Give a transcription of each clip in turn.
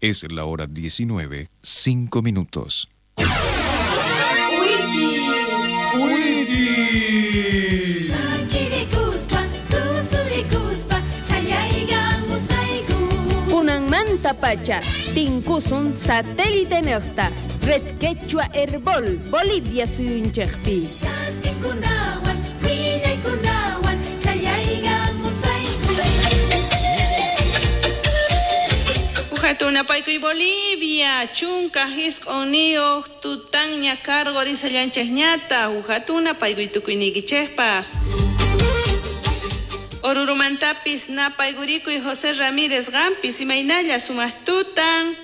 Es la hora 19, 5 minutos. Kunanmantapacha tinkusun satélite nejta Red Quechua Herbol Bolivia suyunchejpi. Ujatunapaykuy Bolivia, chunka hisq'uniyuq tutanña cargo risallanchejñata, ujatunapaykuy tukuyniykichejpaq. Orurumantapis napaygurikuy José Ramírez qampis imaynalla sumaq tutan.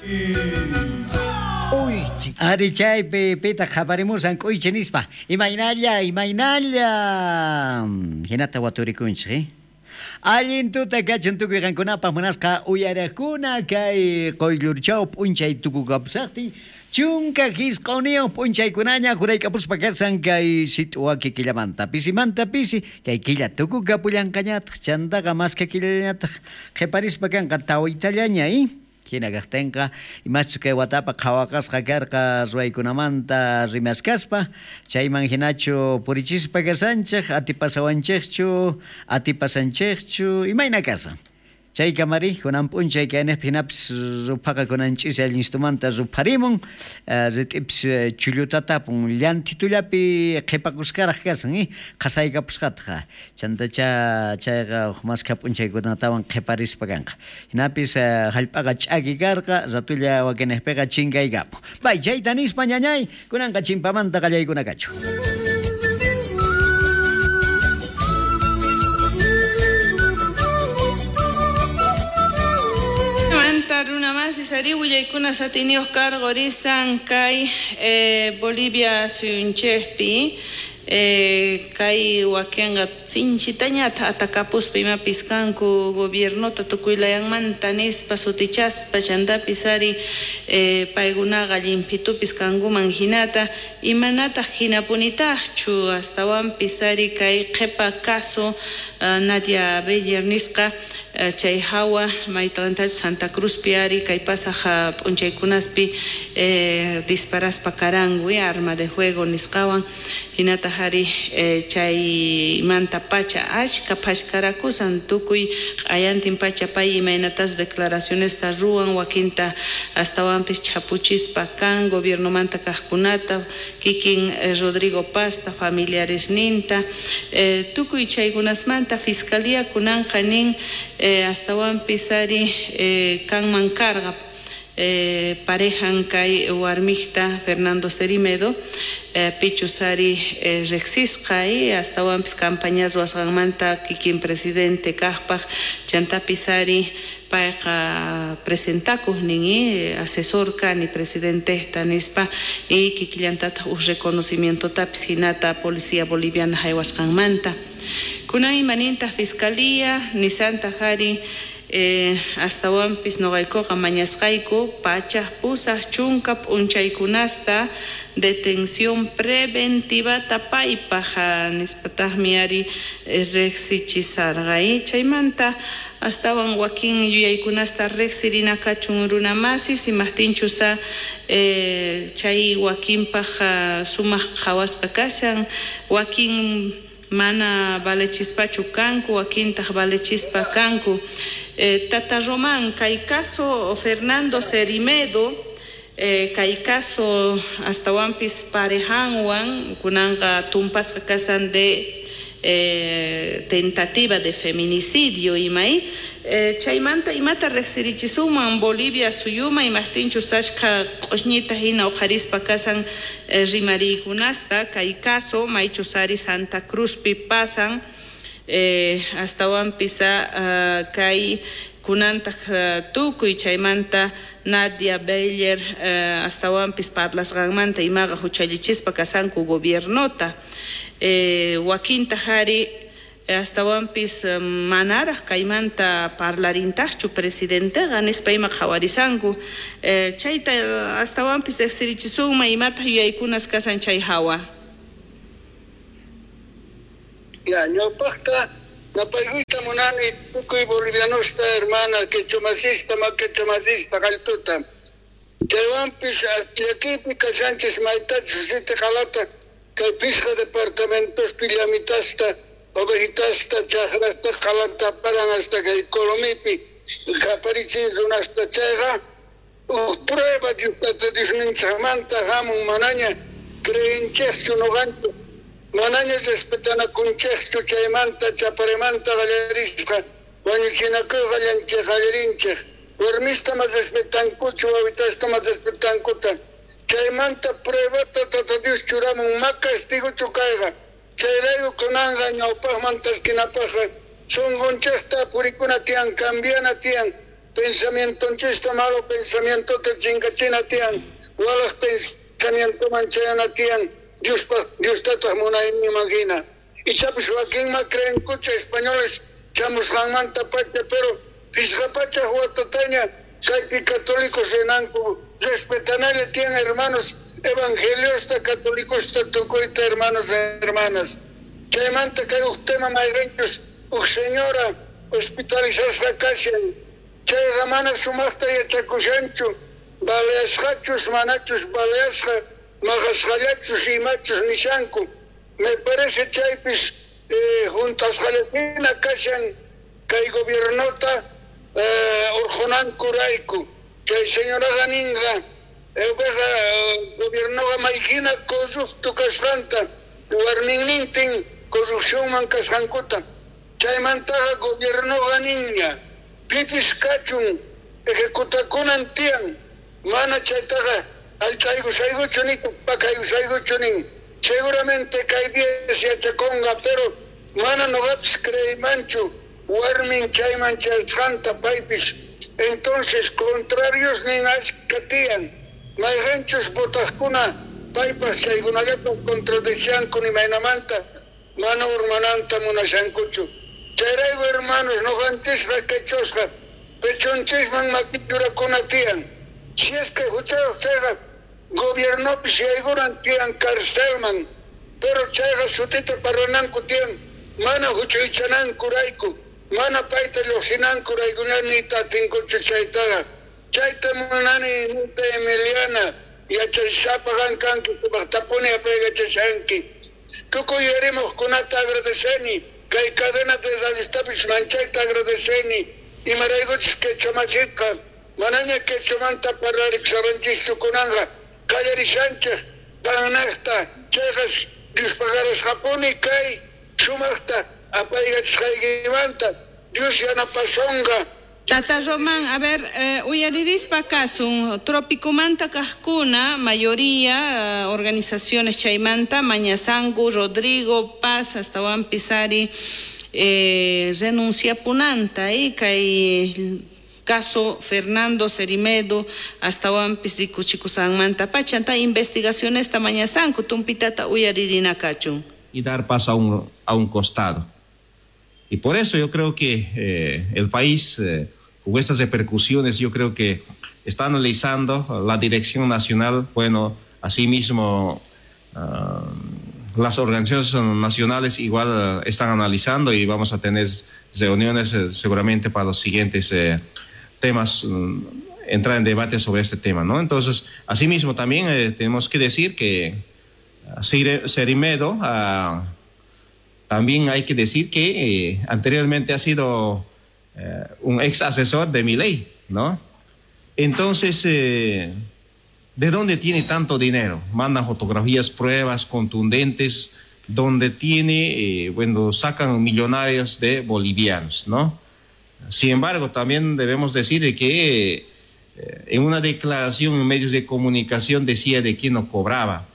Ari chaypi pitaq qhaparimusan k'uychi nispa. Imaynalla, imaynalla. Hinata waturikunchik, eh? Allin tuta kachun tukuy qankunapaq munasqa uyaraqkuna kay quyllurchaw p'unchay tukukapusaqtin 19 p'unchaykunaña juraykapuspa kasan kay sit'uwaki killamanta pisimanta pisi kay killa tukukapullanqañataq chantaqa maska killañataq qhiparispa kanqa tawitallaña, eh? Hina kaqtinqa imaschus kay watapa qhawaqasqa karqa ruwaykunamanta rimaskaspa chayman hinachu purichispa kasanchik atipasawanchikchu atipasanchikchu imayna kasan chay kamari kunan p'unchay kaynejpi hinapis ruphaqa kunan ch'isi allinstumanta rupharimun rit'ipis chullutatapun llantitullapi qhipakuskaraq kasan, eh? Qhasaykapusqataq chantacha chayqa huk maskha p'unchaykunatawan qhiparispa kanqa hinapis hallp'aqa ch'aki karqa ratulla wakinejpiqa chinkaykapun. Bay chayta nispa ñañay kunanqa chimpamanta qallaykuna kachu. Runa masis ari willaykuna satiniyuq cargo risan kay Bolivia suyunchejpi kay wakinqa sinchitañata atakapuspa imapis kanku gobiernota tukuylayanmanta nispa sutichaspa chantapis ari paykunaqa llimpitupis kankuman hinata imanataq hinapunitaqchu astawanpis ari kay qhipa caso Nadia Beller nisqa chay hawa maytaqantachus Santa Cruzpi ari kay pasaq p'unchaykunaspi disparaspa karanku arma de juego nisqawan hinataq ari chaymanta pacha ashka phashkarakusan tukuy q'ayantin pacha pay imaynatas declaracionesta ruwan wakinta astawanpis chhapuchispa kan gobiernomanta kaqkunata kikin Rodrigo Pazta familiaresninta tukuy chaykunasmanta fiscalía kunanqa nin astawanpis ari kanman karqa parejan kay warmijta Fernando Cerimedo pichus ari riqsisqa astawanpis campaña ruwasqanmanta kikin presidente kaqpaq chantapis ari payqa presentakuq nin asesor kani presidentejta nispa y kikillantataq uj reconocimientotapis hinata policía boliviana haywasqanmanta kunan imanintaq fiscalía nisantaq ari astawanpis noqaykuqa mañasqayku pachaq pusaq chunka p'unchaykunasta detención preventivata paypaq nispataqmi ari riqsichisarqa chaymanta astawan wakin yuyaykunasta riqsirina kachun runa masis imaqtinchusa chay wakinpaq sumaq qhawasqa kashan wakin mana valechispachu kanku wakintaq valechispa kanku. Tata Román, kay caso Fernando Cerimedo, kay caso astawanpis parejanwan kunanqa tumpasqa kasan de tentativa de feminicidio imay chaymanta imata riqsirichisuman Bolivia suyuma imaqtinchus ashkha q'ushñita hina uqharispa kasan rimariykunasta kay caso maychus ari Santa Cruzpi pasan astawanpis kay kunantaq tukuy chaymanta Nadia Beller astawanpis parlasqanmanta imaqa huchallichispa kasanku gobiernota wakintaq ari astawanpis manaraq kaymanta parlarintaqchu presidenteqa nispa ima qhawarisanku chayta astawanpis riqsirichisunman imataq yuyaykunas kasan chay hawa. Ya, ñawpaqta Napaykuyta munani tukuy bolivianosta hermana quechomasista ma quechomasista qalltuta. Chaywanpis llakipi kashanchis maytachus siti qalata kay pisqa departamentospi llamitasta ovejitasta chajrasta qalata paran hasta kay Colomipi qaparichin runasta chayqa uj prueba Diosninchikmanta hamun manaña creenchikchu noqanchik manaña respetanakunchikchu chaymanta chaparimanta qallarisqa wañuchinakuy qallanchik qallarinchik warmista mas respetankuchu wawitasta mas respetankuta chaymanta pruebata Tata Dios churamun ma castiguchu kayqa chayrayku kunanqa ñawpaqman taskinapaqqa sunqunchikta purikuna tiyan cambiana tiyan pensamientonchista malo pensamientota chinkachina tiyan walaq pensamientoman chayana tiyan Diospaq Diostataq munayninman hina ichapis wakinma creenkucha españoles chamusqanmanta pacha pero pisqa pachaq watataña kaypi católicos rinanku respetanalla tiyan hermanos evangeliosta católicosta tukuyta hermanos hermanas chaymanta kay uj tema mayqinchus uj señora hospitalizasqa kashan chayqa mana sumaqta yachakushanchu baleasqachus manachus baleasqa maqasqallachus imachus nishanku me parece chaypis juntasqallapina kashan kay gobiernota urqunankurayku chay señoraqa ninqa upeqa gobiernoqa mayhina corrupto kasqanta warminnintin corrupcionman kasqankuta chaymantaqa gobiernoqa ninña pipis kachun ejecutakunan tiyan mana chaytaqa allchaykusaykuchu nin pakaysaykuchu nin seguramente kay días yachakunqa pero mana noqapis creeymanchu warmin chayman chayasqanta paypis entonces contrarios nin ashka tiyan mayqinchus votaqkuna paypas chaykunallata contradichanku imaynamanta mana urmananta munashankuchu chayrayku hermanos noqantisqa quechosqa pechonchisman makichurakuna tiyan si es que huchayuq chayqa gobiernopis yaykunan tiyan carcelman pero chayqa sutita parlananku tiyan mana huchaychanankurayku mana payta lluqsinankuraykuña niyta atinkuchu chaytaqa chayta munani nita Emiliana yachasapa qan kanki sumaqtapuni apaykachashanki tukuy yarimuqkunata agradeceni kay cadena de radiostapis manchayta agradeceni imaraykuchus quechomasitqa manaña quechomanta parlarikusharanchikchu kunanqa qallarishanchik qannaqta chayqa Diospaqarasqapuni kay sumaqta apaykachasqaykimanta Dios yanapasonqa. Tata Román, a ver, uyaririspa kasun, Tropicomanta kajkuna, mayoría, organizaciones chaymanta, Mañazangu, Rodrigo Paz, hasta Juan Pizari, renuncia punanta, kay caso Fernando Cerimedo, hasta Juan Pizikuchikusanmanta pachanta, investigaciones ta Mañazangu, tumpitata uyaririna kachun. Y dar paso a un costado. Y por eso yo creo que el país, con estas repercusiones, yo creo que está analizando la dirección nacional, bueno, asimismo las organizaciones nacionales igual están analizando y vamos a tener reuniones seguramente para los siguientes temas, entrar en debate sobre este tema, ¿no? Entonces, asimismo también tenemos que decir que Cerimedo... también hay que decir que anteriormente ha sido un ex asesor de Milei, ¿no? Entonces, ¿de dónde tiene tanto dinero? Mandan fotografías, pruebas contundentes, donde tiene, bueno, sacan millonarios de bolivianos, ¿no? Sin embargo, también debemos decir de que en una declaración en medios de comunicación decía de que no cobraba.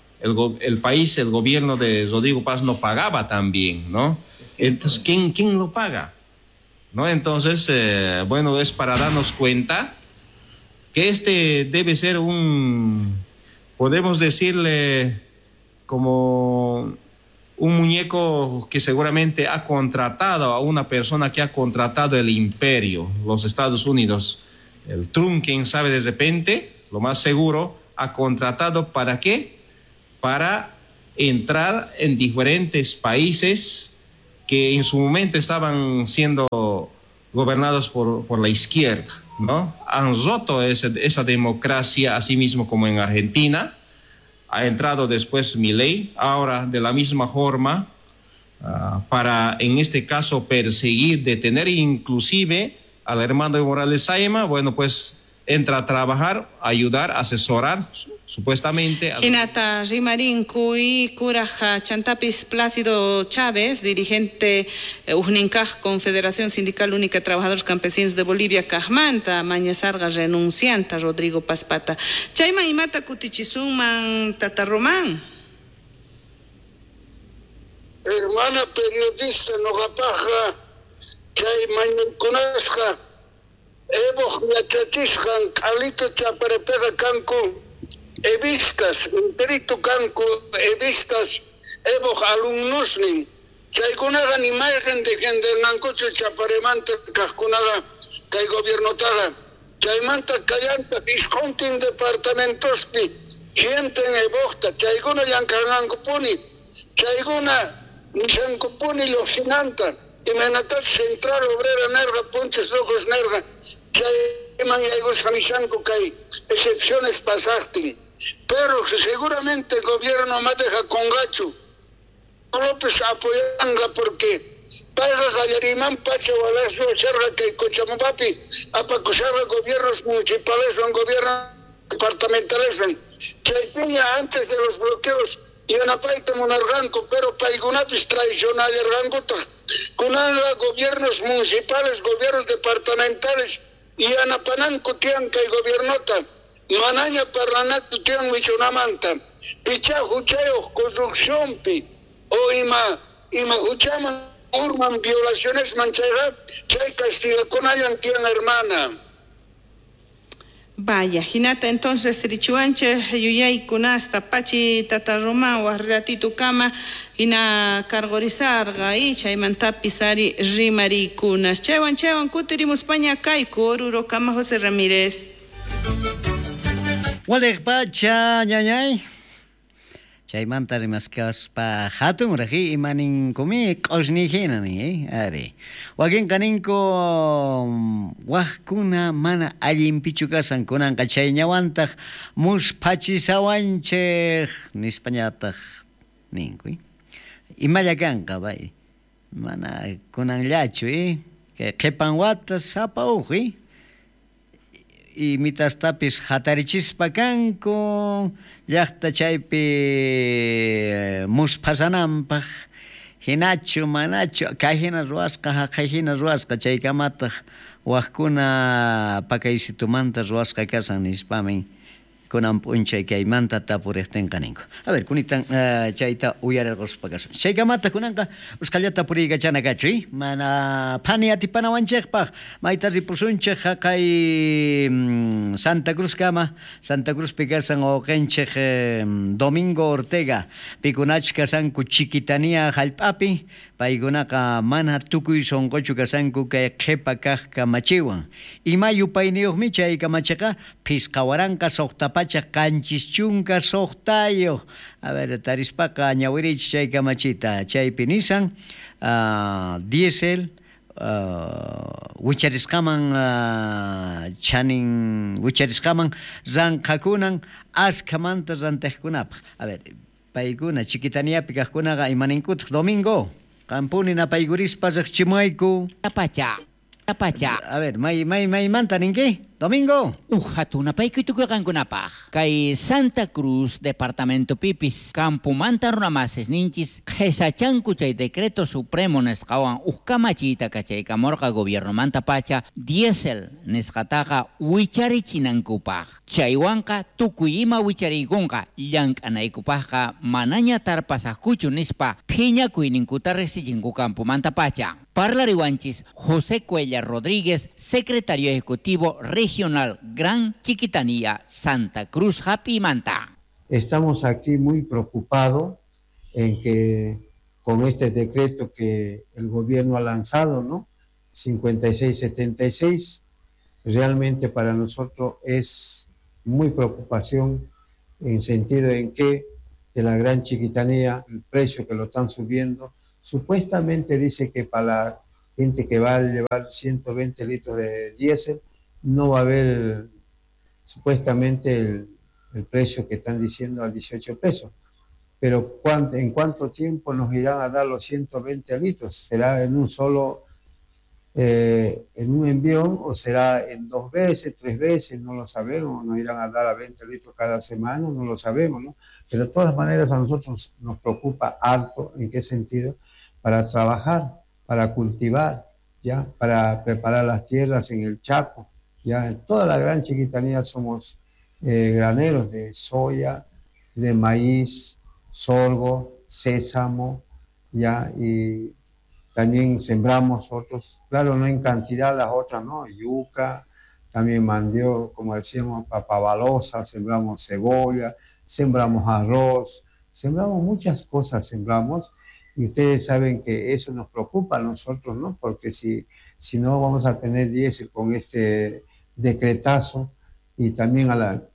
El país, el gobierno de Rodrigo Paz no pagaba también, ¿no? Entonces, ¿quién lo paga? ¿No? Entonces, bueno, es para darnos cuenta que este debe ser un, podemos decirle, como un muñeco que seguramente ha contratado a una persona que ha contratado el imperio, los Estados Unidos. El Trump, quién sabe de repente, lo más seguro, ha contratado ¿para qué? Para entrar en diferentes países que en su momento estaban siendo gobernados por la izquierda, ¿no? Han roto esa democracia, así mismo como en Argentina. Ha entrado después Milei, ahora de la misma forma, para en este caso perseguir, detener inclusive al hermano de Morales Ayma. Bueno, pues entra a trabajar, a ayudar, a asesorar, supuestamente. Hinata rimarinku y kuraja chantapis Plácido Chávez, dirigente ujninkaj Confederación Sindical Única de Trabajadores Campesinos de Bolivia, kajmanta, mañasarga renuncianta Rodrigo Pazpata. Chayman imata kutichisunman Tata Román. Hermana periodista noqapajqa chay mañankunasqa Evo yachachisqan q'alito chaparepeqa kanku evistas, enterito kanku evistas Evoq alumnosnin. Chaykunaqa ni mayqin defendenankuchu chaparemanta kaqkunaqa kay gobiernotaqa. Chaymanta kallantaq isquntin departamentospi sienten Evoqta, chaykuna llank'anankupuni, chaykuna nishankupuni lluqsinanta. Imaynatach Central Obrera nerqa, Punches Locos nerqa, chayman yaykusqa nishanku kay excepciones pasaqtin. Pero seguramente el gobierno ma deja congachu. López apoyanga porque payqa qallariman pacha walaswa sharqa kay Cochabambapi apakusharqa gobiernos municipales, gobiernos departamentales. Chaypiña antes de los bloqueos yanapayta munarqanku, pero paykunapis traicionallarqankutaq. Kunanqa gobiernos municipales, gobiernos departamentales yanapananku tiyan kay gobiernota. Manaña parlanaku tiyan wichunamanta. Picha huchayuq corrupcionpi o ima huchaman urman violacionesman chayqa chay castigakunallan tiyan, hermana. Vaya, hinata entonces richuanche yuyaykunasta pachi Tata Román waq kama hina cargorizarqa y chaymantapis ari rimarikunas. Chaywan chaywan kutirimuspaña kayku Oruro kama José Ramírez. Waliq pacha ñañay. Chaymanta rimaskaspa hatun raji imaninkumi q'usni hina nin, ari. Wakinqa ninku waqkuna mana allinpichu kasan kunanqa chayñawantaq musphachisawanchik nispañataq ninku. Imalla kanqa bay. Mana kunanllachu, kay qhipan wata sapa uj, imitastapis hatarichispa kanku llaqta chaypi musphasananpaq hinachu manachu kay hina ruwasqa haqay hina ruwasqa chaykamataq waqkuna pakaysitumanta ruwasqa kasan nispamin kunan p'unchay kaymanta tapuriqtinqa ninku. A ver, kunitan chayta uyarirquspa kasun. Chaykamataq kunanqa usqhallata puriykachana kachu, mana phani atipanawanchikpaq mayta ripusunchik haqay Santa Cruz kama. Santa Cruzpi kasan wawqinchik Domingo Ortega pikunach kasanku Chiquitania hallp'api paykunaqa mana tukuy sunquchu kasanku kay qhipa kaq kamachiwan. Ima yupayniyuqmi chay kamachiqa 5676. A ver, tarispaqa ñawirichik chay kamachita chaypi nisan diésel wicharisqaman chanin wicharisqaman ranqakunan askhamanta rantiqkunapaq. A ver, paykuna Chiquitaniapi kaqkunaqa imaninkutaq Domingo qampuni napaykurispa riqchimuayku. Pacha. Pacha. A ver, maymanta ninki? Domingo. Hatuna paykuy tukuy-qankunapaq. Kay Santa Cruz departamento pipis campomanta runamasis ninchis qhesachanku chay decreto supremo nisqawan uj kamachiyta kachaykamurqa gobiernomanta pacha diésel nisqataqa wicharichinankupaq. Chaywanqa tukuy ima wichariykunqa llank'anaykupaqqa manaña tarpasaqkuchu nispa phiñakuyninkuta riqsichinku campomanta pacha. Parlariwanchis José Cuellar Rodríguez, secretario ejecutivo regional Gran Chiquitanía, Santa Cruz, Japimanta. Estamos aquí muy preocupados en que con este decreto que el gobierno ha lanzado, ¿no? 5676, realmente para nosotros es muy preocupación en sentido en que de la Gran Chiquitanía, el precio que lo están subiendo Supuestamente dice que para la gente que va a llevar 120 litros de diésel no va a haber supuestamente el precio que están diciendo al 18 pesos. Pero ¿en cuánto tiempo nos irán a dar los 120 litros? ¿Será en un solo, en un envión o será en 2 veces, 3 veces? No lo sabemos. Nos irán a dar a 20 litros cada semana, no lo sabemos, ¿no? Pero de todas maneras a nosotros nos preocupa harto. ¿En qué sentido? Para trabajar, para cultivar, ¿ya? Para preparar las tierras en el Chaco, ¿ya? En toda la Gran Chiquitanía somos graneros de soya, de maíz, sorgo, sésamo, ¿ya? Y también sembramos otros, claro, no en cantidad las otras, ¿no? Yuca, también mandioca, como decíamos, papa balosa, sembramos cebolla, sembramos arroz, sembramos muchas cosas, sembramos, y ustedes saben que eso nos preocupa a nosotros, ¿no? Porque si no vamos a tener diésel con este decretazo, y también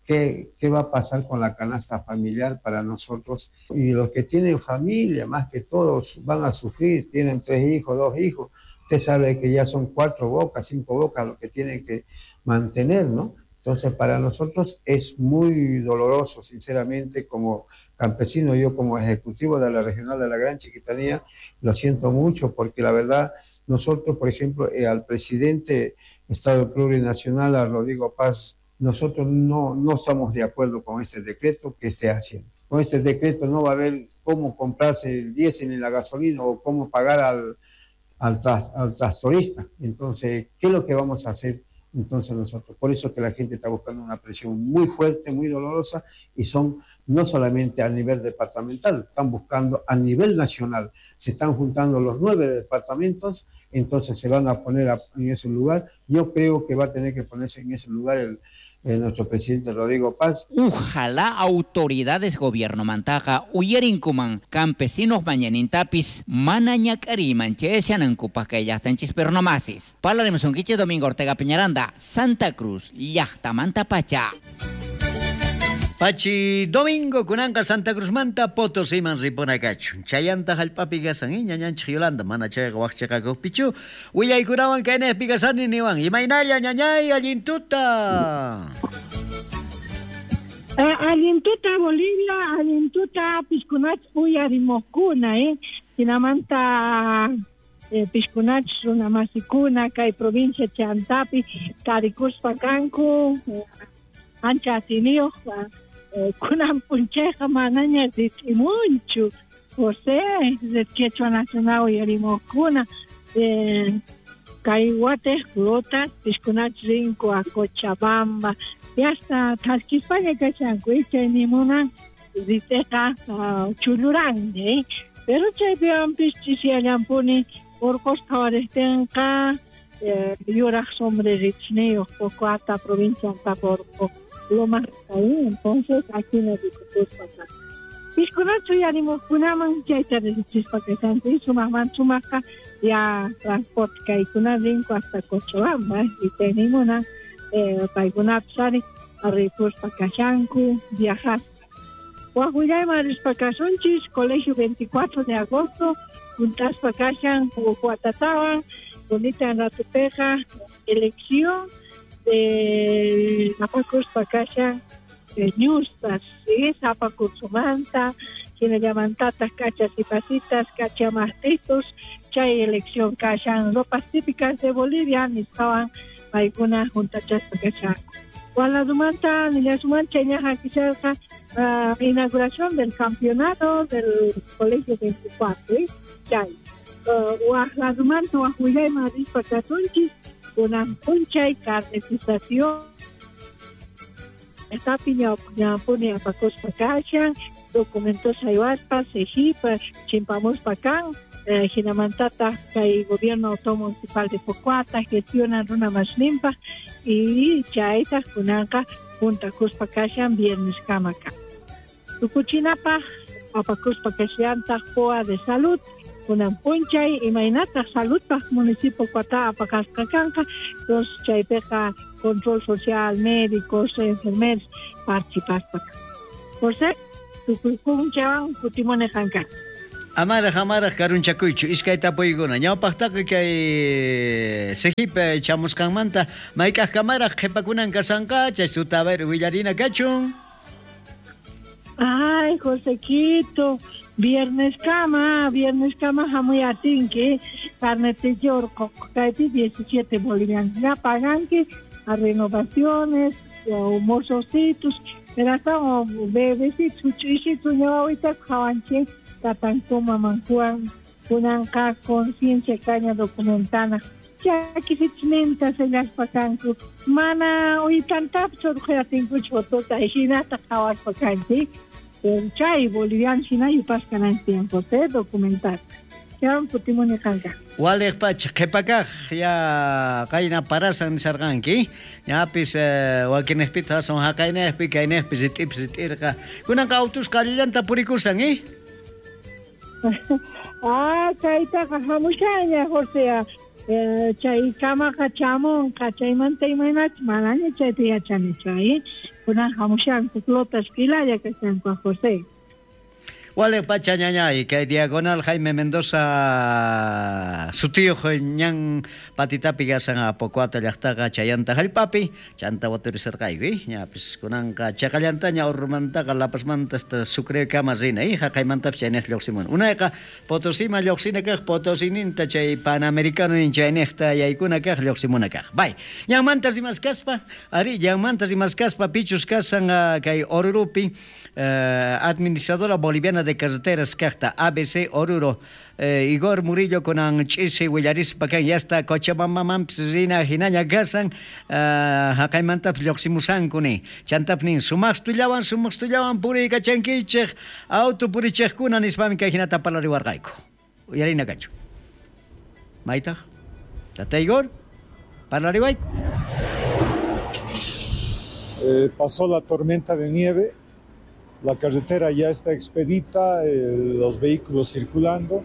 ¿qué va a pasar con la canasta familiar para nosotros? Y los que tienen familia, más que todos, van a sufrir, tienen 3 hijos, 2 hijos. Usted sabe que ya son 4 bocas, 5 bocas lo que tienen que mantener, ¿no? Entonces, para nosotros es muy doloroso, sinceramente, como campesino, yo como ejecutivo de la regional de la Gran Chiquitanía, lo siento mucho, porque la verdad, nosotros, por ejemplo, al presidente Estado Plurinacional, a Rodrigo Paz, nosotros no estamos de acuerdo con este decreto que esté haciendo. Con este decreto no va a haber cómo comprarse el diésel ni la gasolina o cómo pagar al tractorista. Entonces, ¿qué es lo que vamos a hacer entonces nosotros? Por eso que la gente está buscando una presión muy fuerte, muy dolorosa, y son no solamente a nivel departamental, están buscando a nivel nacional. Se están juntando los 9 departamentos, entonces se van a poner en ese lugar. Yo creo que va a tener que ponerse en ese lugar nuestro presidente Rodrigo Paz. Ojalá autoridades gobierno mantaja uyarinkuman campesinos mañanintapis mana ñak'ariyman chayasanankupaq kay llaqtanchis pero no masis. Parlarimusunkichik Domingo Ortega Peñaranda, Santa Cruz, llaqtamanta pacha. Pachi Domingo kunanqa Santa Cruzmanta Potosiman ripunakachu. Chayanta hallp'api kasan, ñañanchik Yolanda, mana chayqa waqchiqakuqpichu. Willaykunawan kaynaypi kasani niwan. Imaynalla ñañay, allin tuta. Allin tuta Bolivia, allin tuta piskunach uyarimuqkuna, Hinamanta piskunach runamasikuna kay provincia Chantapi tarikuspa kanku ancha atiniyuq kunan p'unchayqa manaña rit'imunchu. José de Quechua Nacional uyarimuqkuna kay watej rutas piskunach rinku a Cochabamba y hasta thaskispaña kashanku chay nimunan rit'eqa chulluranmi, pero chaypiwanpis ch'isyallampuni urqus qhawariptinqa yuraq sombrerichniyuq Pocoata provincia Antaporco Lomas ahí, entonces aquí nos rikukuspa piskunachu uyarimuqkunaman chayta riqsispa kashanku y sumaqman sumaqqa ya transporte kaykuna rinku hasta Cochabamba y chaynimunan paykunapis ari ripuspa kashanku viajaspa. Waq willayman rispa kasunchis Colegio 24 de agosto juntaspa kashan Pocoatatawan bonita ratupeja elección de apakuspa kashan ñustas, ¿sí? Apakursumanta, hinallamantata cachas y pasitas, cachamahtitos, chay elección kashan ropas típicas de Bolivia, nisqawan paykuna juntachaspa kashanku. Waladumanta, nillasumanta chayñaqa kisharqa inauguración del campeonato del Colegio 24, ¿eh? Chay. Waqladumanta waq willayman rispa kasunchis kunan p'unchay carnetización estapi ñawpuni apakuspa kashan documentos haywaspa cejipa chimpamuspa kan hinamantataq kay gobierno autónomo municipal de Pocoata gestiona runa masninpaq y chaytaq kunanqa juntakuspa kashan viernes kama kan. Tukuchinapaq apakuspa kashallantaq POA de salud kunan p'unchay imaynataq saludpaq municipio Pocoata apaqasqa kanqa, entonces chaypiqa control social, médicos, enfermeros participaspa kan. José, tukuykunchawan kutimuni qanka. Amaraj amaraj karunchakuychu iskay tapuykuna ñawpaqtaqa kay Sejipe chamusqanmanta mayk'aq kamaraj qhipakunan kasanqa chay suta a ver willarina kachun. Ay, Josequito, viernes kama hamuy atinki, carnete orqo kaypi 17 bolivianos. Ya paganki a renovaciones, o mozocitos, pero hasta bebecitos, huch'uysitos ñawawita qhawanchik, tatanku mamankuwan kunanqa conciencia caña documentana. Chakisichninta sellaspa kanku, mana uytantapis urqhuyatinkuchu fotota, hinata qhawaspa kanchik. Pero chay boliviano hina yupasqa tiempo documentar. Chawan kutimuni qanqa. Waliq pacha qhipakaq ya qayna parasan nisarqanki, ñapis wakinejpita aswan haqaynejpi kaynejpi rit'ipis rit'irqa. Kunanqa autusqa allillanta purikusan, eh? Ah, chaytaqa hamushaña, José. Chay kamaqa chamunqa, chaymanta imaynachus manaña chayta yachanichu, eh? Kunan hamushanku flotas kilalla kashanku, José. Waliq pacha ñañay, kay Diagonal Jaime Mendoza sutiyuq ñan patitapi kasan Pocoata llaqtaqa chayanta hallp'api, chanta waturisarqayku, ñapis kunanqa chaqallantaña Ormantaqa La Pazmanta hasta Sucrekama rina, haqaymantapis chayniq lluqsimuna. Unayqa Potosima lluqsina kaq, Potosininta chay Panamericano nin chayniqta yaykuna kaq lluqsimuna kaq. Bay, ñanmanta rimaskaspa, ari ñanmanta rimaskaspa pichus kasan kay Orurupi administradora boliviana de carreteras kaqta ABC Oruro Igor Murillo kunan ch'isi willarispa kan yasta Cochabambamanpis rina hinaña kasan haqaymantapis lluqsimusanku ni chantapis nin sumaqstullawan puriykachankichik auto purichiqkuna nispami kay hinata parlariwarqayku. Uyarina kachu. Maytaq Tata Igor parlariwayku. Pasó la tormenta de nieve. La carretera ya está expedita, los vehículos circulando.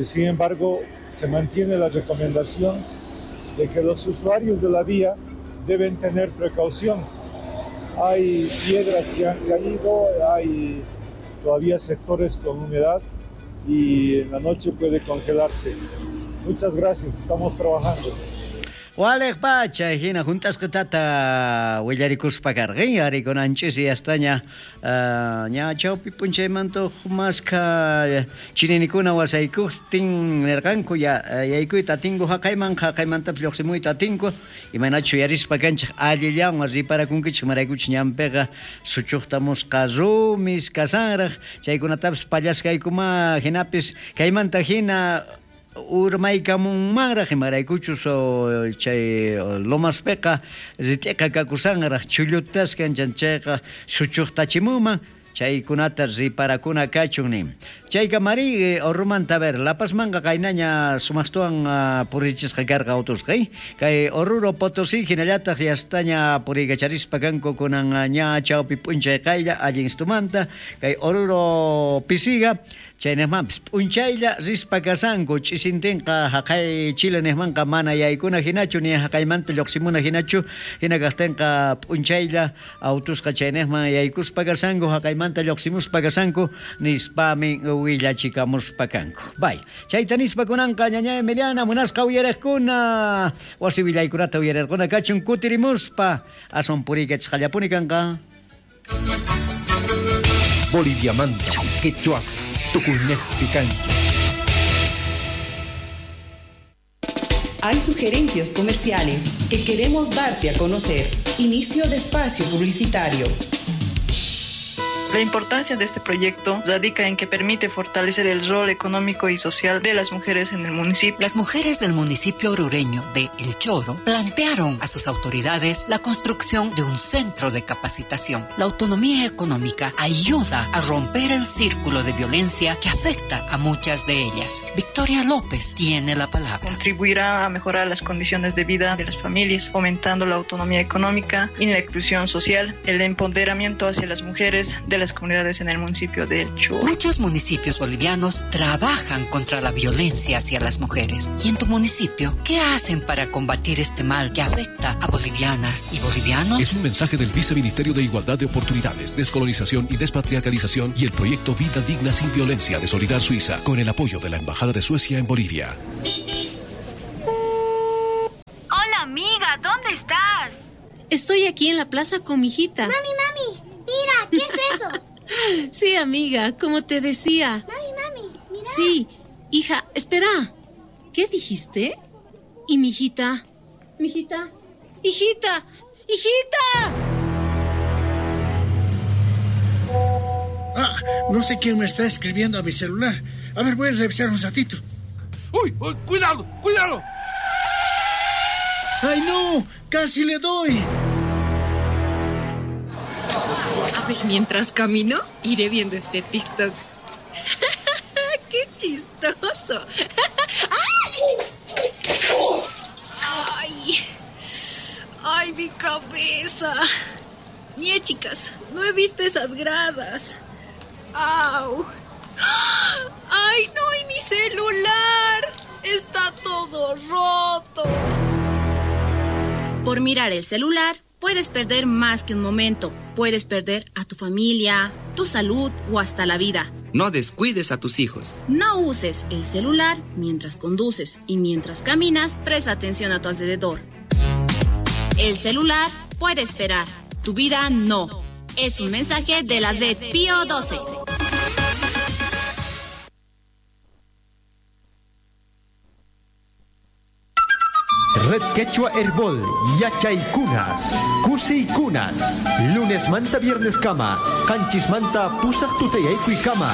Sin embargo, se mantiene la recomendación de que los usuarios de la vía deben tener precaución. Hay piedras que han caído, hay todavía sectores con humedad y en la noche puede congelarse. Muchas gracias, estamos trabajando. Waliq pacha hina juntasqa tata willarikuspa karqin arikunanchis yastaña ña chawpi p'unchaymanta maskha chininikuna wasaykuqtin nirqanku ya yaykuyta atinku haqayman haqaymantapis lluqsimuyta atinku imaynachu yuyarispa kanchik allillawan riparakunkichik maraykuchik ñanpiqa suchuqtamusqa rumis kasanraq chaykunatapis pallaskaykuma hinapis kaymanta hina urmaykamunmanraq imaraykuchus chay lomaspiqa rit'iqa kakusanraq chullutaskan chayqa suchuqtachimunman chaykunata riparakuna kachun nin. Chayka mari Orrumanta a ver La Pazmanqa qaynaña sumaqtuwan purichisqa karqa autusqa kay Oruro Potosí hinallataq yastaña puriykacharispa kanku kunan ña chawpi p'unchay qaylla allin istumanta kay Oruro Pisiga chaynejmanpis p'unchaylla rispa kasanku ch'isintinqa haqay Chile nejmanqa mana yaykuna hinachu ni haqaymanta lluqsimuna hinachu hina kaqtinqa p'unchaylla autusqa chaynejman yaykuspa kasanku haqaymanta lluqsimuspa kasanku nispami willachikamuspa kanku. Bay, chayta nispa kunanqa ñaña Emiliana munasqa uyariqkuna wasi willaykunata uyarirquna kachun kutirimuspa aswan puriykachisqallapuni kanqa. Boliviamanta quechua tukuynejpi kanchik. Hay sugerencias comerciales que queremos darte a conocer. Inicio de espacio publicitario. La importancia de este proyecto radica en que permite fortalecer el rol económico y social de las mujeres en el municipio. Las mujeres del municipio orureño de El Choro plantearon a sus autoridades la construcción de un centro de capacitación. La autonomía económica ayuda a romper el círculo de violencia que afecta a muchas de ellas. Victoria Victoria López tiene la palabra. Contribuirá a mejorar las condiciones de vida de las familias, fomentando la autonomía económica y la inclusión social, el empoderamiento hacia las mujeres de las comunidades en el municipio de El Choro. Muchos municipios bolivianos trabajan contra la violencia hacia las mujeres. ¿Y en tu municipio qué hacen para combatir este mal que afecta a bolivianas y bolivianos? Es un mensaje del Viceministerio de Igualdad de Oportunidades, Descolonización y Despatriarcalización y el proyecto Vida Digna sin Violencia de Solidar Suiza, con el apoyo de la Embajada de Suecia en Bolivia. Hola amiga, ¿dónde estás? Estoy aquí en la plaza con mi hijita. Mami, mami, mira, ¿qué es eso? Sí, amiga, como te decía. Mami, mami, mira. Sí, hija, espera. ¿Qué dijiste? ¿Y mi hijita? ¿Mi hijita? ¡Hijita! ¡Hijita! Ah, no sé quién me está escribiendo a mi celular. A ver, voy a revisar un ratito. ¡Uy! uy ¡Cuidado! ¡Cuidado! ¡Ay, no! ¡Casi le doy! A ver, mientras camino, iré viendo este TikTok. ¡Qué chistoso! ¡Ay! ¡Ay, mi cabeza! Mie, chicas, no he visto esas gradas. ¡Au! ¡Ay, no! ¡Y mi celular! ¡Está todo roto! Por mirar el celular, puedes perder más que un momento. Puedes perder a tu familia, tu salud o hasta la vida. No descuides a tus hijos. No uses el celular mientras conduces y mientras caminas, presta atención a tu alrededor. El celular puede esperar, tu vida no. Es un mensaje de la Z Pío 12. Red Quechua Herbol, Yachaykunas, Kusiykunas, Lunes manta viernes kama, Qanchis manta pusaq tutayaykuy kama.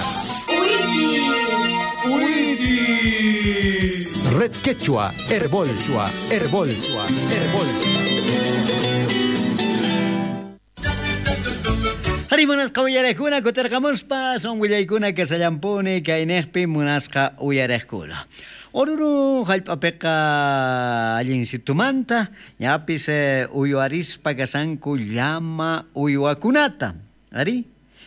¡Uichi! Red Quechua Herbol, Herbol, Herbol. Ari munasqa uyariqkuna kutirqamuspa son willaykuna kasallampuni kaynejpi munasqa uyariqkuna. Oruro hallp'apiqa allinsitumanta ñapis uywarispa kasanku llama uywakunata. Ari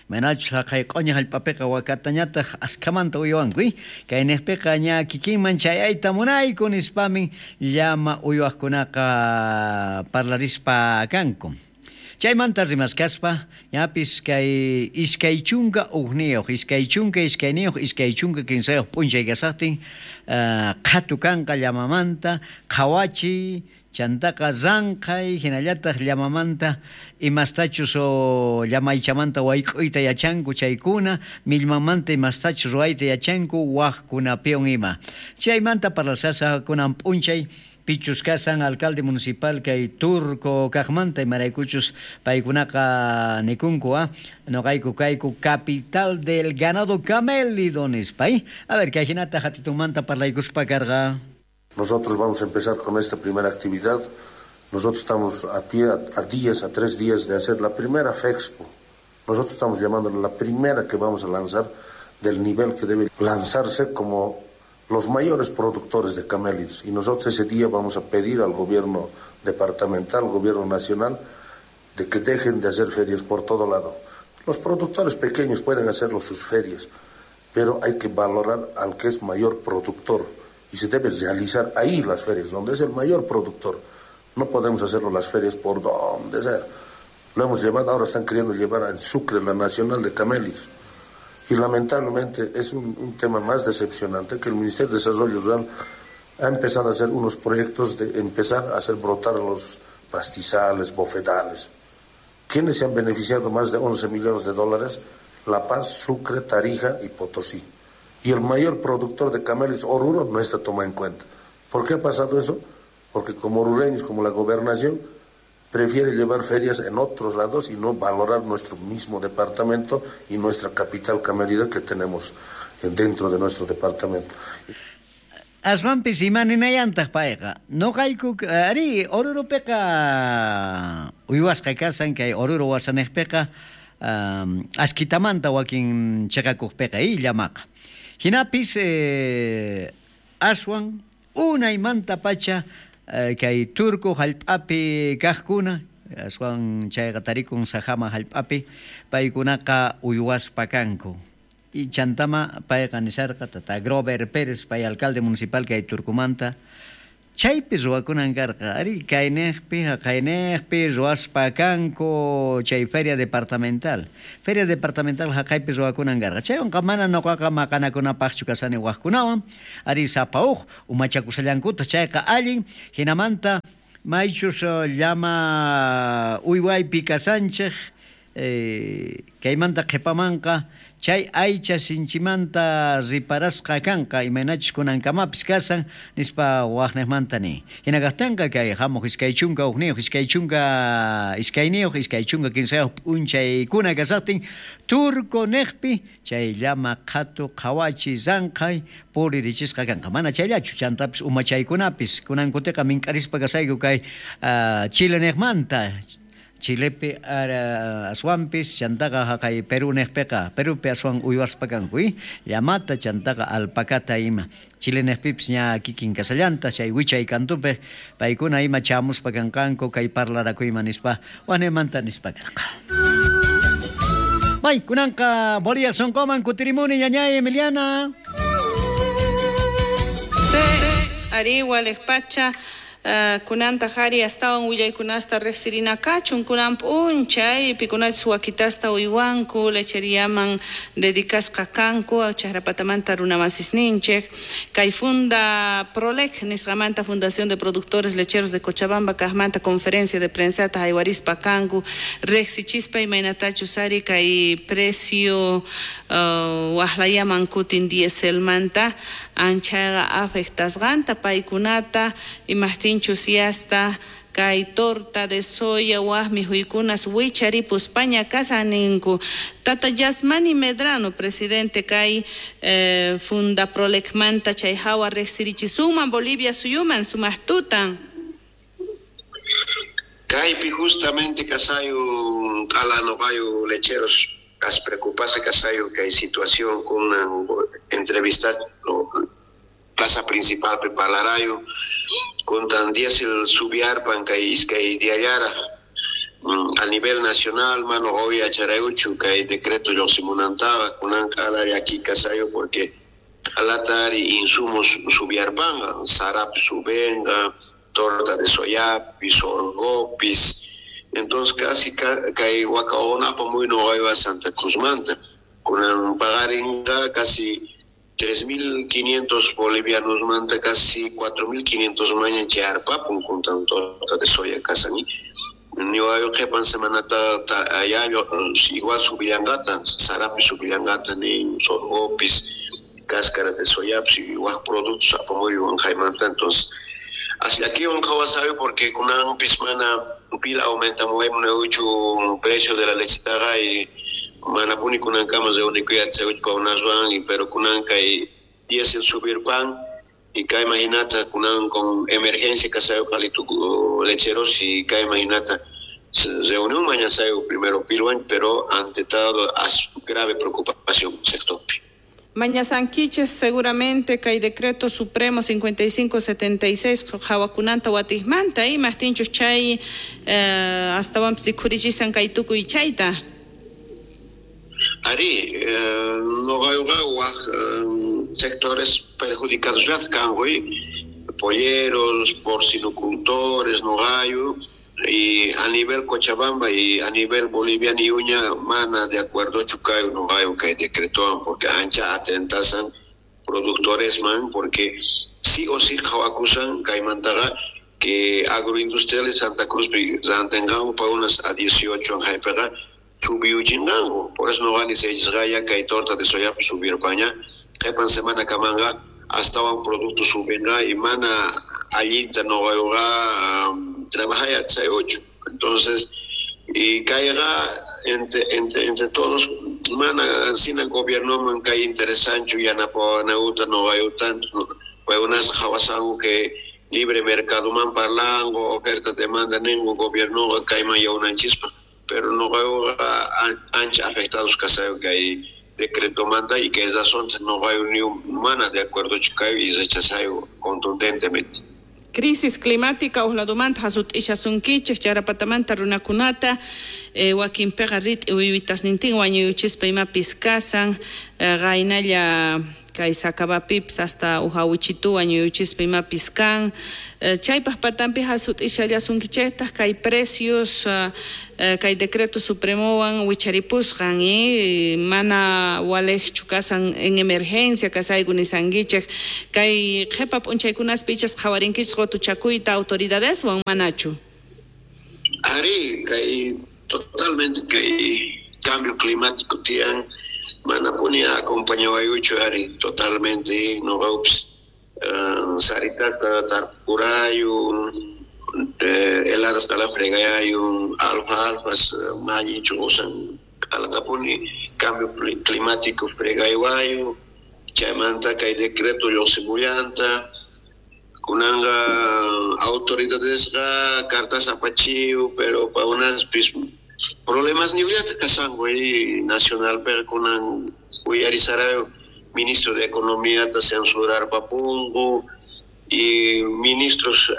manachus haqay q'uña hallp'apiqa wakatañataq askhamanta uywanku, kaynejpiqa ña kikinman chayayta munayku nispamin llama uywaqkunaqa parlarispa kanku. Chaymanta rimaskaspa ñapis kay iskay chunka ujniyuq, iskay chunka iskayniyuq, iskay chunka kinsayuq p'unchay kasaqtin qhatu kanqa llamamanta, qhawachiy, chantaqa ranqay, hinallataq llamamanta imastachus o llamaychamanta wayk'uyta yachanku chaykuna, millmamanta imastachus ruwayta yachanku waqkunapiwan ima. Chaymanta parlasasa kunan p'unchay pichus kasan alcalde municipal kay Turco kaqmanta imaraykuchus paykunaqa nikunku noqayku kayku capital del ganado camélido nispa. A ver, kay hinata hatitunmanta parlaykuspa karqa. Nosotros vamos a empezar con esta primera actividad. Nosotros estamos a pie a días, a 3 días de hacer la primera FEXPO. Nosotros estamos llamándola la primera que vamos a lanzar del nivel que debe lanzarse como los mayores productores de camélidos. Y nosotros ese día vamos a pedir al gobierno departamental, al gobierno nacional, de que dejen de hacer ferias por todo lado. Los productores pequeños pueden hacerlo sus ferias, pero hay que valorar al que es mayor productor y se debe realizar ahí las ferias, donde es el mayor productor. No podemos hacerlo las ferias por donde sea. Lo hemos llevado, ahora están queriendo llevar en Sucre la Nacional de Camélidos. Y lamentablemente es un tema más decepcionante que el Ministerio de Desarrollo Rural ha empezado a hacer unos proyectos de empezar a hacer brotar los pastizales, bofedales. ¿Quiénes se han beneficiado más de 11 millones de dólares? La Paz, Sucre, Tarija y Potosí. Y el mayor productor de camélidos, Oruro, no está tomado en cuenta. ¿Por qué ha pasado eso? Porque como orureños, como la gobernación, prefiere llevar ferias en otros lados y no valorar nuestro mismo departamento y nuestra capital camélida que tenemos dentro de nuestro departamento. Aswanpis imaninayantaq payqa. Noqayku ari Orurupiqa uywasqa kasan kay Oruro wasanejpiqa askitamanta wakin chiqakuqpiqa llamaqa. Hinapis Aswan unaymantapacha kay Turku hallp'api kaqkuna, aswan chayqa tarikun Sajama hallp'api, paykunaqa uywaspa kanku. Y chantama payqa nisharqa tata Grover Pérez, pay alcalde municipal kay Turkumanta, chaypi ruwakunan karqa, arí, kayniqpi haqayniqpi ruwaspa kanku chay feria departamental. Feria departamental haqaypi ruwakunan karqa. Chaywanqa mana nuqaqa maqanakunapaqchu kashani waqkunawan, arí, sapa uj umachakushallankutaq chayqa allin, hinamanta maychus llama uywaypi kashanchik, kaymanta qhipamanqa chay aycha sinchimanta riparasqa kanqa, imaynachus kunankamapis kashan, nispa waqniqmanta nin. Hina kaqtinqa kay hamuq 21, 22, 23 p'unchaykuna kashaqtin Turku niqpi chay llama qhatu qhawachi ranqhay puririchisqa kanqa. Mana chayllachu, chantapis umachaykunapis kunankutiqa mink'arispa kashayku kay Chile niqmanta. Chilepi aswanpis chantaqa haqay Perú niqpiqa, Perupi aswan uywaspa kanku, llamata chantaqa alpacata ima. Chile niqpipis ña kikin kashallanta chay wichay kantupi paykuna ima chamuspa kanqanku kay parlarakuyman nispa waqniymanta nispa karqa. May kunanqa Bolivia sunquman kutirimuni ñañay Emiliana. Sí, ari waliq pacha. Kunantaq ari astawan willaykunasta riqsirina kachun kunan p'unchay pikunachus wakitasta uywanku lecheriaman dedicasqa kanku chaqrapatamanta runamasisninchik kay Funda Prolec nisqamanta Fundación de Productores Lecheros de Cochabamba kaqmanta conferencia de prensata haywarispa kanku riqsichispa imaynatachus ari kay precio waqlayaman kutin dieselmanta anchayqa afectasqanta paykunata imaqtinchus yasta kay torta de soya waq mikhuykunas wicharipuspaña kashan ninku. Tata Yasmani Medrano, presidente kay Funda Prolecmanta chay hawa riqsirichisunman Bolivia suyuman sumaq tutan. Kaypi justamente kasayu q'ala noqayu lecheros as preocupase kasayu kay situación con una entrevista plaza principal prepararayu con tan diésel subiarpan kay iskay diallara a nivel nacional mano hoy acharayuchu kay decreto lluqsimunantaqa kunan q'ala llaki kasayu porque q'alatari insumos subiarpanga sarapi subenga torta de soyapis sorgopis entonces casi kay wakaunapa muy noqaywa Santa Cruzmanta kunan pagarinqa casi 3.500 bolivianos manta casi 4.500 maña charpapun con torta de soya kasani niwayo qhipan semanata allá igual subillangata sarapi subillangata ni sorgopis cáscara de soyapis y waj productos apamuy wanjaymanta entonces así aquí un jawasayo porque kunan pismana pila aumenta muy mucho precio de la lechitaga y manapuni kunan kama reunikuya tseuch paunaswan y pero kunan kay diésel subir pan y kay imaginata kunan con emergencia kasayo qalitu lecheros y kay imaginata reunión mañana sayo primero pilwan pero ante todo as grave preocupación sector. Mañasanquiches seguramente kay decreto supremo 5576 hawakunanta watijmanta y mastinchus chay astawanpis rikhurichisan kay tukuy chayta. Ari, noqayuqa waq sectores perjudicados kanku, polleros, porcinocultores, noqayu, y a nivel Cochabamba y a nivel boliviano y uña mana de acuerdo chucayo noqayu kay decretoan porque ancha atentasan productores man porque sí o sí qhawakusan kaymantaqa que agroindustriales Santa Cruz rantinqanku pa unas a 18 anjaypiqa subiuchinqanku por eso noqani sellisqaya kay torta de soya subirpaña qhipan semana kamanga astawan producto subinqa y mana allinta noqayuqa trabajaya ocho entonces y kayqa entre todos mana sina gobierno man kay interesanchu yanapawanawta noqayuta paykunas qhawasanku que libre mercado man parlango oferta demanda ningu gobierno kayman yawnanchispa pero noqayuqa ancha afectados kasayu kay decreto manda y que razón no hay ni mana de acuerdochu kayu y rechazayo contundentemente. Crisis climática uqladumanta hasut'ishasunkichik charapatamanta runakunata wakinpiqa rit'i uywitasnintin wañuyuchispa imapis kasan qaynalla kay Sacabapipis hasta uhawichitu wañuyuchispa imapis kan chaypaq patampi hasut'ishallasunkichiktaq kay precios kay decreto supremowan wicharipusqan mana waliqchu kasan en emergencia kasayku nisankichik kay qhipa p'unchaykunaspi ichas qhawarinkichik qutuchakuyta autoridadeswan manachu. Ari kay totalmente kay cambio climático tiyan mana puni acompañawayuchu ari totalmente noqawpis saritasta tarpurayu heladas kala fregayu alfalfas mallinchu usan kalatapuni cambio climático fregaywayu chaymanta kay decreto lluqsimullanta kunanqa autoridadesqa cartas apachiyu pero pa unaspis problemas niullata kasanku nacional pero kunan uyarisarayo ministro de Economía ta censurar papunku y ministros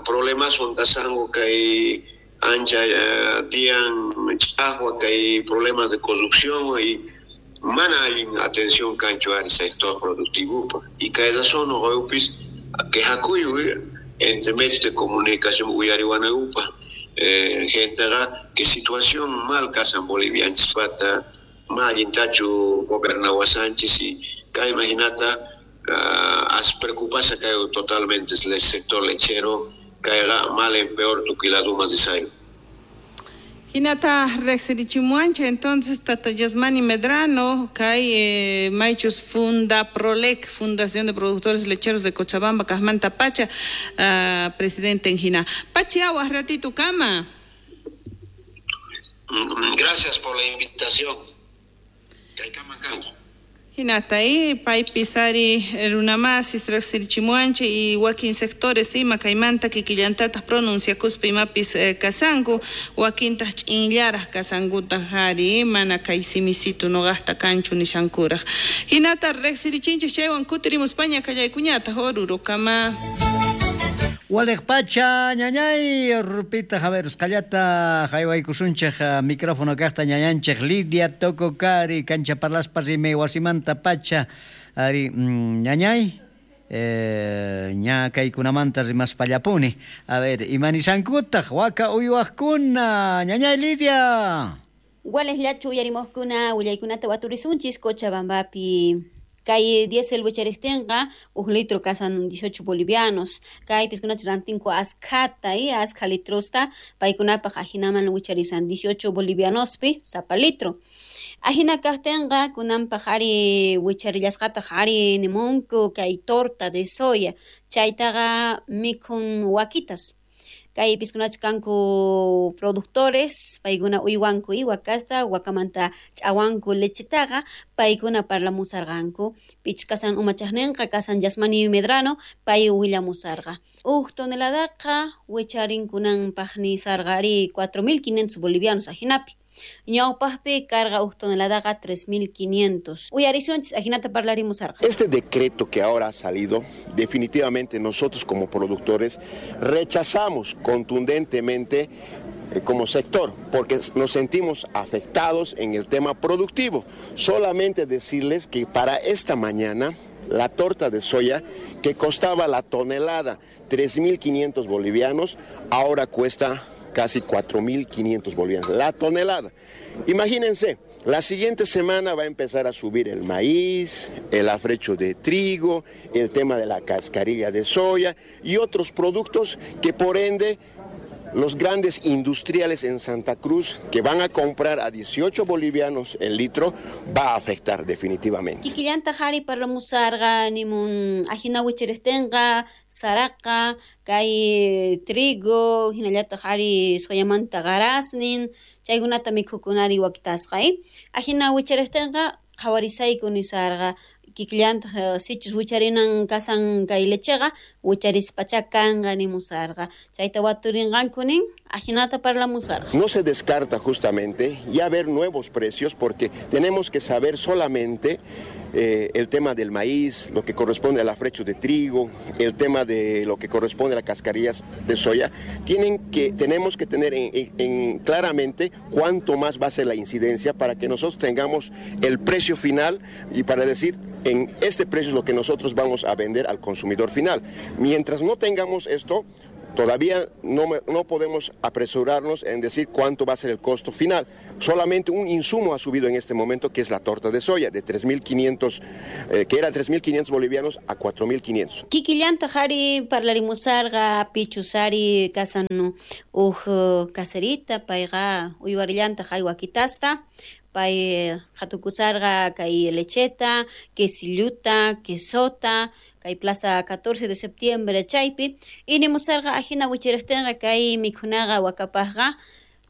problemas son kasanku kay ancha tiyan ch'aqwa kay problemas de corrupción y mana allin atención kanchu ari sector productivo y kay razón noqayupis quejakuyu entre medios de comunicación uyariwanayupa gente que situación mal kasan bolivianchispata mallintachu gobernawasanchis y kay imaginata as preocupasa kay totalmente el sector lechero kayqa mal en peor tukiladumas disayo. Hinata riqsirichimuanchik entonces Tata Yasmani Medrano kay maychus Funda Prolec, Fundación de Productores Lecheros de Cochabamba, kaqmanta pacha presidente en hina. Pachi awaq ratito kama. Gracias por la invitación. Kaykama kanku. Hinata paypis ari runamasis riqsirichimuanchik y wakin sectores ima kaymanta kikillantataq pronunciakuspa imapis kasanku wakintaq ch'inllaraq kasankutaq ari mana kay simisitu nuqaqta kanchu nishankuraq. Hinata riqsirichinchik chaywan kutirimuspaña kallaykuñataq orurukama. Waliq pacha ñañay rupita Javier usqallata haywaykusunchik micrófono kaqta ñañanchik Lidia Tococari kancha parlaspa rimay wasimanta pacha ari ñañay ña kaykunamanta rimaspallapuni a ver imanisankutaq waka uywaqkuna ñañay Lidia. Waliq llachu uyarimuqkuna willaykunata waturisunchis Cochabambapi. Kay diésel wichariptinqa uj litro kasan 18 bolivianos. Kaypis kunach rantinku askhata askha litrosta paykunapaq ajinaman wicharisan 18 bolivianospi sapa litro. Ajina kaqtinqa kunanpaq ari wicharillasqataq ari nimunku kay torta de soya chaytaqa mikhun wakitas. Kaypis kunach kanku productores, paykuna uywanku wakasta, wakamanta ch'awanku lechetaqa, paykuna parlamusarqanku. Pich kasan umachaqninqa kasan Yasmani Medrano, pay willamusarqa. Uj toneladaqa wicharinkunanpaq nisarqa ari 4.500 bolivianos ajinapi. Ñawpaqpi carga uj toneladaqa 3.500. Uyarisunchis ajinata parlarimusarqa. Este decreto que ahora ha salido, definitivamente nosotros como productores rechazamos contundentemente como sector, porque nos sentimos afectados en el tema productivo. Solamente decirles que para esta mañana la torta de soya que costaba la tonelada 3.500 bolivianos, ahora cuesta casi 4.500 bolivianos la tonelada. Imagínense, la siguiente semana va a empezar a subir el maíz, el afrecho de trigo, el tema de la cascarilla de soya y otros productos que por ende los grandes industriales en Santa Cruz que van a comprar a 18 bolivianos el litro va a afectar definitivamente. Kikillanta hari parlamusarqa nimun ajina wichiriptinqa saraqa kay trigo hinallataq ari soyamanta qarasnin chaykunata mikhukunari wakitasqa ajina wichiriptinqa qhawarisayku nisarqa kikillantaq sichus wicharinan kasan kay lecheqa wicharispacha kanqa nimusarqa chayta waturinqanku nin ajinata parlamusarqa. No se descarta justamente ya ver nuevos precios porque tenemos que saber solamente El tema del maíz, lo que corresponde al afrecho de trigo, el tema de lo que corresponde a las cascarillas de soya, tenemos que tener en claramente cuánto más va a ser la incidencia para que nosotros tengamos el precio final y para decir en este precio es lo que nosotros vamos a vender al consumidor final. Mientras no tengamos esto, todavía no podemos apresurarnos en decir cuánto va a ser el costo final. Solamente un insumo ha subido en este momento, que es la torta de soya, de 3.500, que era 3.500 bolivianos a 4.500. Kikillanta jari parlarimusarga pichusari kasan uj caserita payqa uywarillanta jari wakitasta pay hatukusarga kay lecheta, quesilluta, quesota, kay plaza 14 de septiembre chaypi y nimusarqa ajina wichiraqtinqa kay mikhunaqa wakapaqqa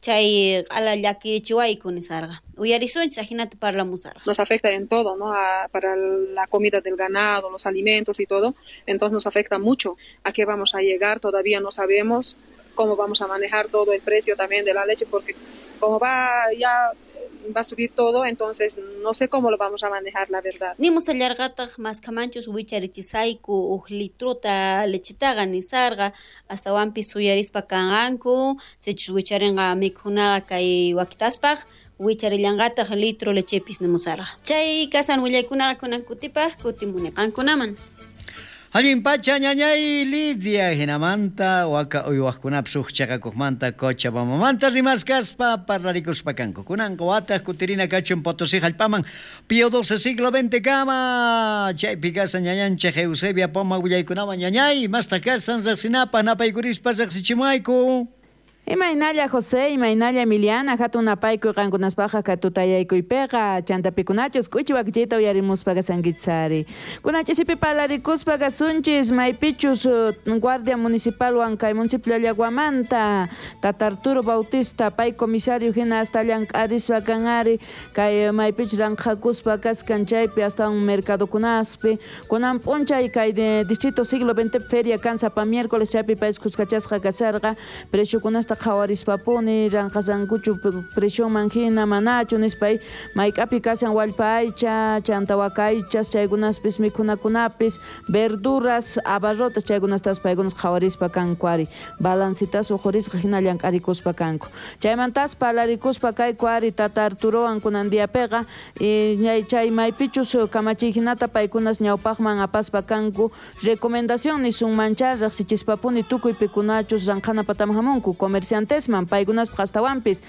chay q'ala llakirichiwayku nisarqa uyarisunchis ajinata parlamusarqa. Nos afecta en todo, ¿no? Para la comida del ganado, los alimentos y todo, entonces nos afecta mucho. ¿A qué vamos a llegar? Todavía no sabemos cómo vamos a manejar todo el precio también de la leche, porque como va ya va a subir todo, entonces no sé cómo lo vamos a manejar, la verdad. Nimusallarqataq maskamanchus wicharichisayku uj litruta lechitaqa nisarqa astawanpis suyarispa kanqanku sichus wicharinqa mikhunaqa kay wakitaspaq wicharillanqataq litro lechepis nimusarqa. Chay kasan willaykunaqa kunan kutipaq kutimuniqankunaman. Allin pacha ñañay Lidia hinamanta waka uywaqkunapis uj chaqakuqmanta Cochabambamanta rimaskaspa parlarikuspa kanku. Kunanqa wataq kutirina kachun Potosí hallp'aman Pío XII siglo XX kama chaypi kasan ñañanchik Eusebia Poma willaykunawan ñañay mastaq kasan riqsinapaq napaykurispa riqsichimuayku. Imaynalla José, imaynalla Emiliana, hatun napaykuy qankunaspaqa katutayaykuypiqa, chantapikunachus k'uchi wakichiyta uyarimuspa kasankitsari. Kunachisipi parlarikuspa kasunchis, maypichus Guardia Municipalwan kay municipio Llaguamanta, Tata Arturo Bautista, pay comisario hina hasta llank'arispa kanari, kay maypichus ranqhakuspa kaskan chaypi hasta un mercadokunaspi. Kunan p'unchay kay distrito siglo XX feria kan sapa miércoles chaypi pay kuskachasqa kasarqa, preciokunasta qhawarispapuni ranqasankuchu presioman hina manachu nispay mayk'api kashan wallpa aycha chanta waka aychas chaykunaspis mikhunakunapis verduras abarrotas chaykunastas paykunas qhawarispa kanku ari balancitas uqhurisqa hina llank'arikuspa kanku chaymantas parlarikuspa kayku ari Tata Arturowan kunan diapiqa chay maypichus kamachiy hinata paykunas ñawpaqman apaspa kanku recomendación nisunmancha riqsichispapuni tukuy pikunachus ranqhana pataman hamunku comerciantesman paykunaspaq astawanpis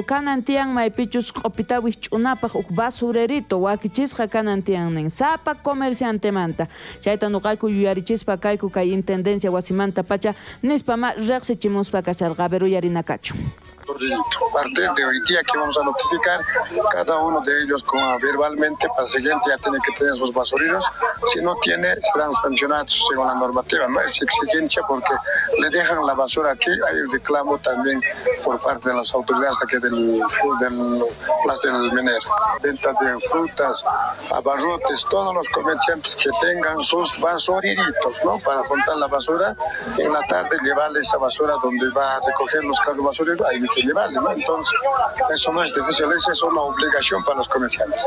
kanan tiyan maypichus q'upita wikch'unapaq uj basurerito wakichisqa kanan tiyan nin sapa comerciantemanta chayta nuqayku yuyarichispa kayku kay intendencia wasimanta pacha nispa ma riqsichimuspa kasarqa a ver uyarinakachu. A partir de hoy día que vamos a notificar cada uno de ellos con, verbalmente para el siguiente ya tiene que tener sus basureros. Si no tiene, serán sancionados según la normativa. No es exigencia porque le dejan la basura aquí. Hay un reclamo también por parte de las autoridades aquí del Plaza del Mener. Venta de frutas, abarrotes, todos los comerciantes que tengan sus basureritos, ¿no? Para juntar la basura. En la tarde llevarle esa basura donde va a recoger los carros basureros. Hay que llevarle, ¿no? Entonces, eso no es difícil, esa es una obligación para los comerciantes.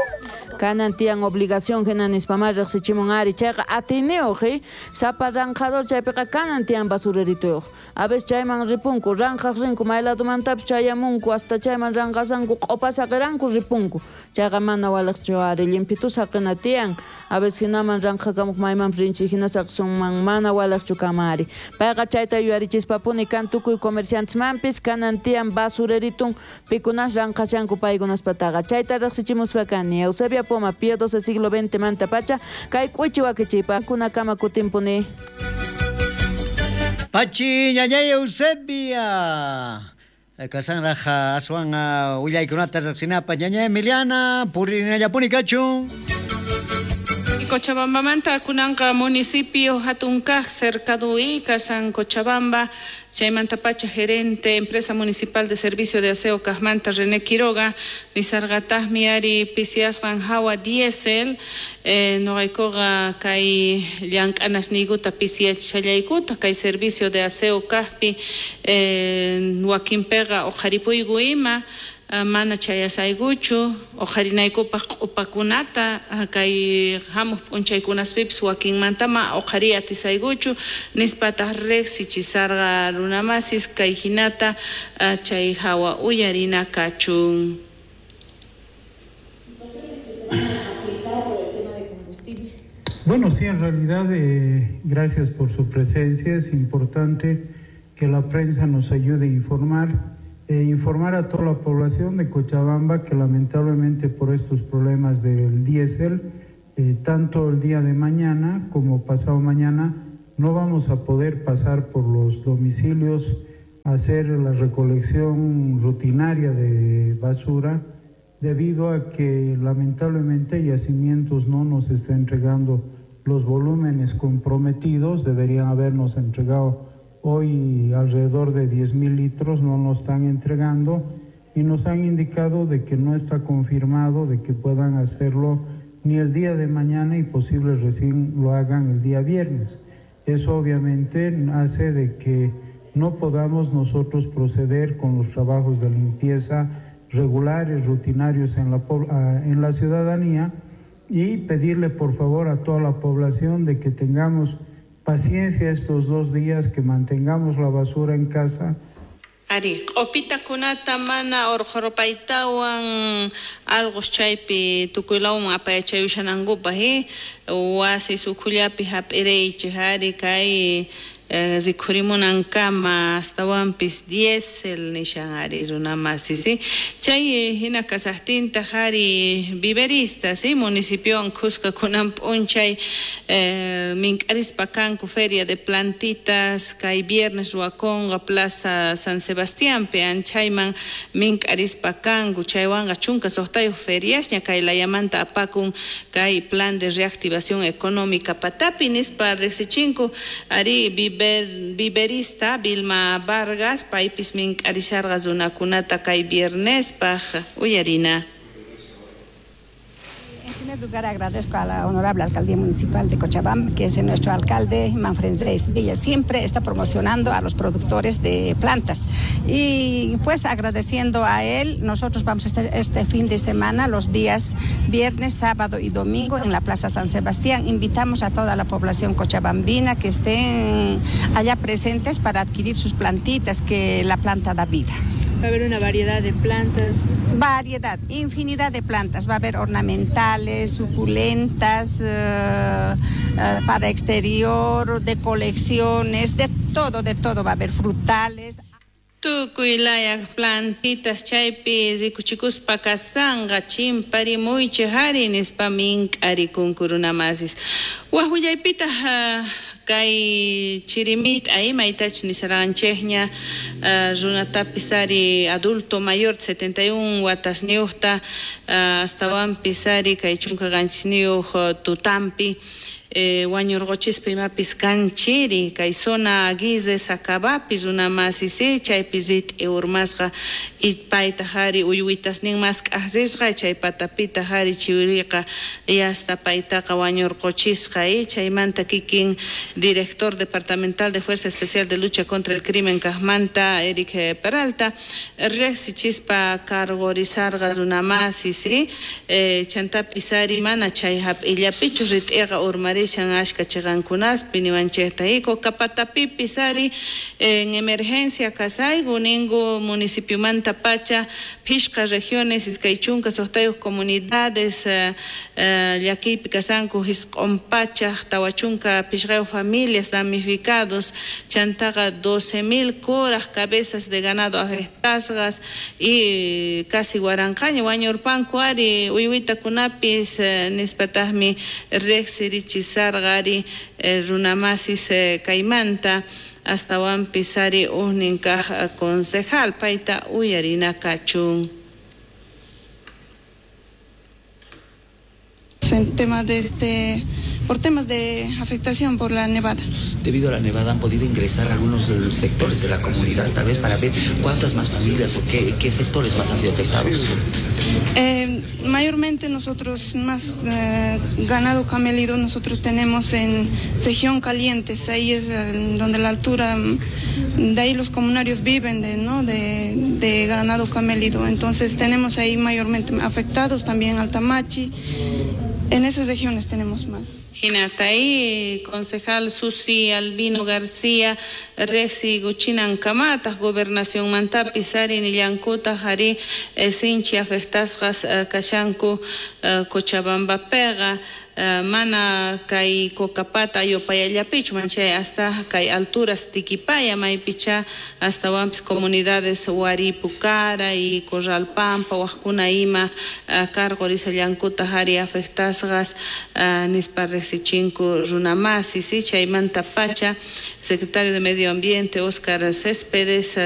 Kanan tiyan obligación hina nispamá riqsichimun ari chayqa atiniyuq sapa ranqador chaypiqa kanan tiyan basurerituyuq a veces chayman ripunku ranqaq rinku may ladomantapis chayamunku hasta chayman ranqasanku q'upa saqiranku ripunku chayqa mana waliqchu ari limpitu saqina tiyan a veces hinaman ranqakamuq maymanpis rinchik hina saqisunman mana waliqchu kama ari payqa chayta yuyarichispapuni kan tukuy comerciantesmanpis kanan tiyan basureritun pikunas ranqashanku paykunaspataqa chayta riqsichimuspa kani Eusebia Poma Pío XII siglo XX manta pacha kay k'uchi wakichiypa kunakama kutimpuni. Pachi ñañay Eusebia kasanraq aswan willaykunata riqsinapaq ñañay Emiliana purinallapuni kachun. Cochabambamanta kunanqa municipio hatunkaq cercadui kasan Cochabamba chaymanta pacha gerente empresa municipal de servicio de aseo kaqmanta René Quiroga nisarqataqmi ari pisiasqan hawa diésel noqaykuqa kay llank'anasniykuta pisiyachishallaykuta kay servicio de aseo kaqpi wakinpiqa uqharipuyku ima Mana chayasaykuchu uqharinaykupaq q'upakunata kay hamuq p'unchaykunaspipis wakinmantama uqhariy atisaykuchu nispataq riqsichisarqa runamasis kay hinata chay hawa uyarina kachun. Bueno, sí, en realidad, gracias por su presencia. Es importante que la prensa nos ayude a informar. Informar a toda la población de Cochabamba que lamentablemente por estos problemas del diésel, tanto el día de mañana como pasado mañana, no vamos a poder pasar por los domicilios a hacer la recolección rutinaria de basura, debido a que lamentablemente Yacimientos no nos está entregando los volúmenes comprometidos. Deberían habernos entregado hoy alrededor de 10.000 litros, no nos están entregando y nos han indicado de que no está confirmado de que puedan hacerlo ni el día de mañana y posible recién lo hagan el día viernes. Eso obviamente hace de que no podamos nosotros proceder con los trabajos de limpieza regulares, rutinarios en la ciudadanía, y pedirle por favor a toda la población de que tengamos paciencia estos 2 días, que mantengamos la basura en casa. Ari, q'upitakunata mana urqhurpaytawan alqus chaypi tukuylawman apayachayushanankupaq, wasi sukhullapi hap'iraychik ari kay rikhurimunankama astawanpis diésel nishan ari runamasi, ¿sí? Chay hina kasaqtintaq ari viverista, ¿sí? Municipiowan khuska kunan p'unchay mink'arispa kanku feria de plantitas kay viernes ruwakunqa Plaza San Sebastiánpi anchayman mink'arispa kanku chaywanqa 16 feriasña kay layamanta apakun kay plan de reactivación económica patapi nispa riqsichinku ari viverista Vilma Vargas paypis mink'arisharqa runakunata kay viernespaj uyarina. En primer lugar, agradezco a la honorable alcaldía municipal de Cochabamba, que es nuestro alcalde Manfred Seis. Ella siempre está promocionando a los productores de plantas. Y pues agradeciendo a él, nosotros vamos a estar este fin de semana, los días viernes, sábado y domingo en la Plaza San Sebastián. Invitamos a toda la población cochabambina que estén allá presentes para adquirir sus plantitas, que la planta da vida. Va a haber una variedad de plantas. Variedad, infinidad de plantas. Va a haber ornamentales, suculentas, para exterior, de colecciones, de todo. Va a haber frutales. Tukuy laya plantitas chaypi rikuchikuspa kasanqa chimparimuychik ari nispa mink'arikunku runamasis. Waj willaypitaq kay chirimita imaytachus nisarqanchikña runatapis ari adulto mayor 71 watasniyuqta astawanpis ari kay 17 tutampi wañurquchispa imapis kan chiri kay zona Aguirre Sacabapi runamasis chaypi rit'i urmasqa paytaq ari uywitasnin mask'aqsisqa chay patapitaq ari chiwiriqa yasta paytaqa wañurquchisqa chaymanta kikin director departamental de Fuerza Especial de Lucha contra el Crimen kaqmanta Eric Peralta riqsichispa cargorizarqa runamasis chantapis ari mana chay hap'illapichu rit'iqa urmarishan ashka chiqankunaspi niwanchikta Cocapatapipis ari en emergencia kasayku ninku municipiomanta pacha phishqa regiones 26 comunidades llakiypi kasanku 945 familias damnificados chantaqa 12,000 kuraj cabezas de ganado afectasqas y casi waranqaña wañurpanku ari uywitakunapis nispataqmi riqsirichisarqa ari runamasis kaymanta astawanpis ari ujnin kaq concejal payta uyarina kachun. En temas de por temas de afectación por la nevada. Debido a la nevada han podido ingresar algunos sectores de la comunidad, tal vez para ver cuántas más familias o qué sectores más han sido afectados. Sí, Mayormente nosotros más ganado camélido nosotros tenemos en región Calientes, ahí es donde la altura, de ahí los comunarios viven de ganado camélido, entonces tenemos ahí mayormente afectados también Altamachi, en esas regiones tenemos más. Hinatay, concejal Susi Albino García, Rexi Guchinan Kamatas, Gobernación Mantapi, Sari Nillankuta, Jari, Sinchi afectasqas kashanku Cochabamba pega, mana kay Cocapata yopayallapichu manchay hasta kay alturas Tiquipaya maypicha hasta wampis comunidades Huaripucara y Corralpampa wajkuna ima karqurisallankuta jari afectasqas nispa riqsichinku runamasi, si chaymanta pacha secretario de Medio Ambiente Oscar Céspedes.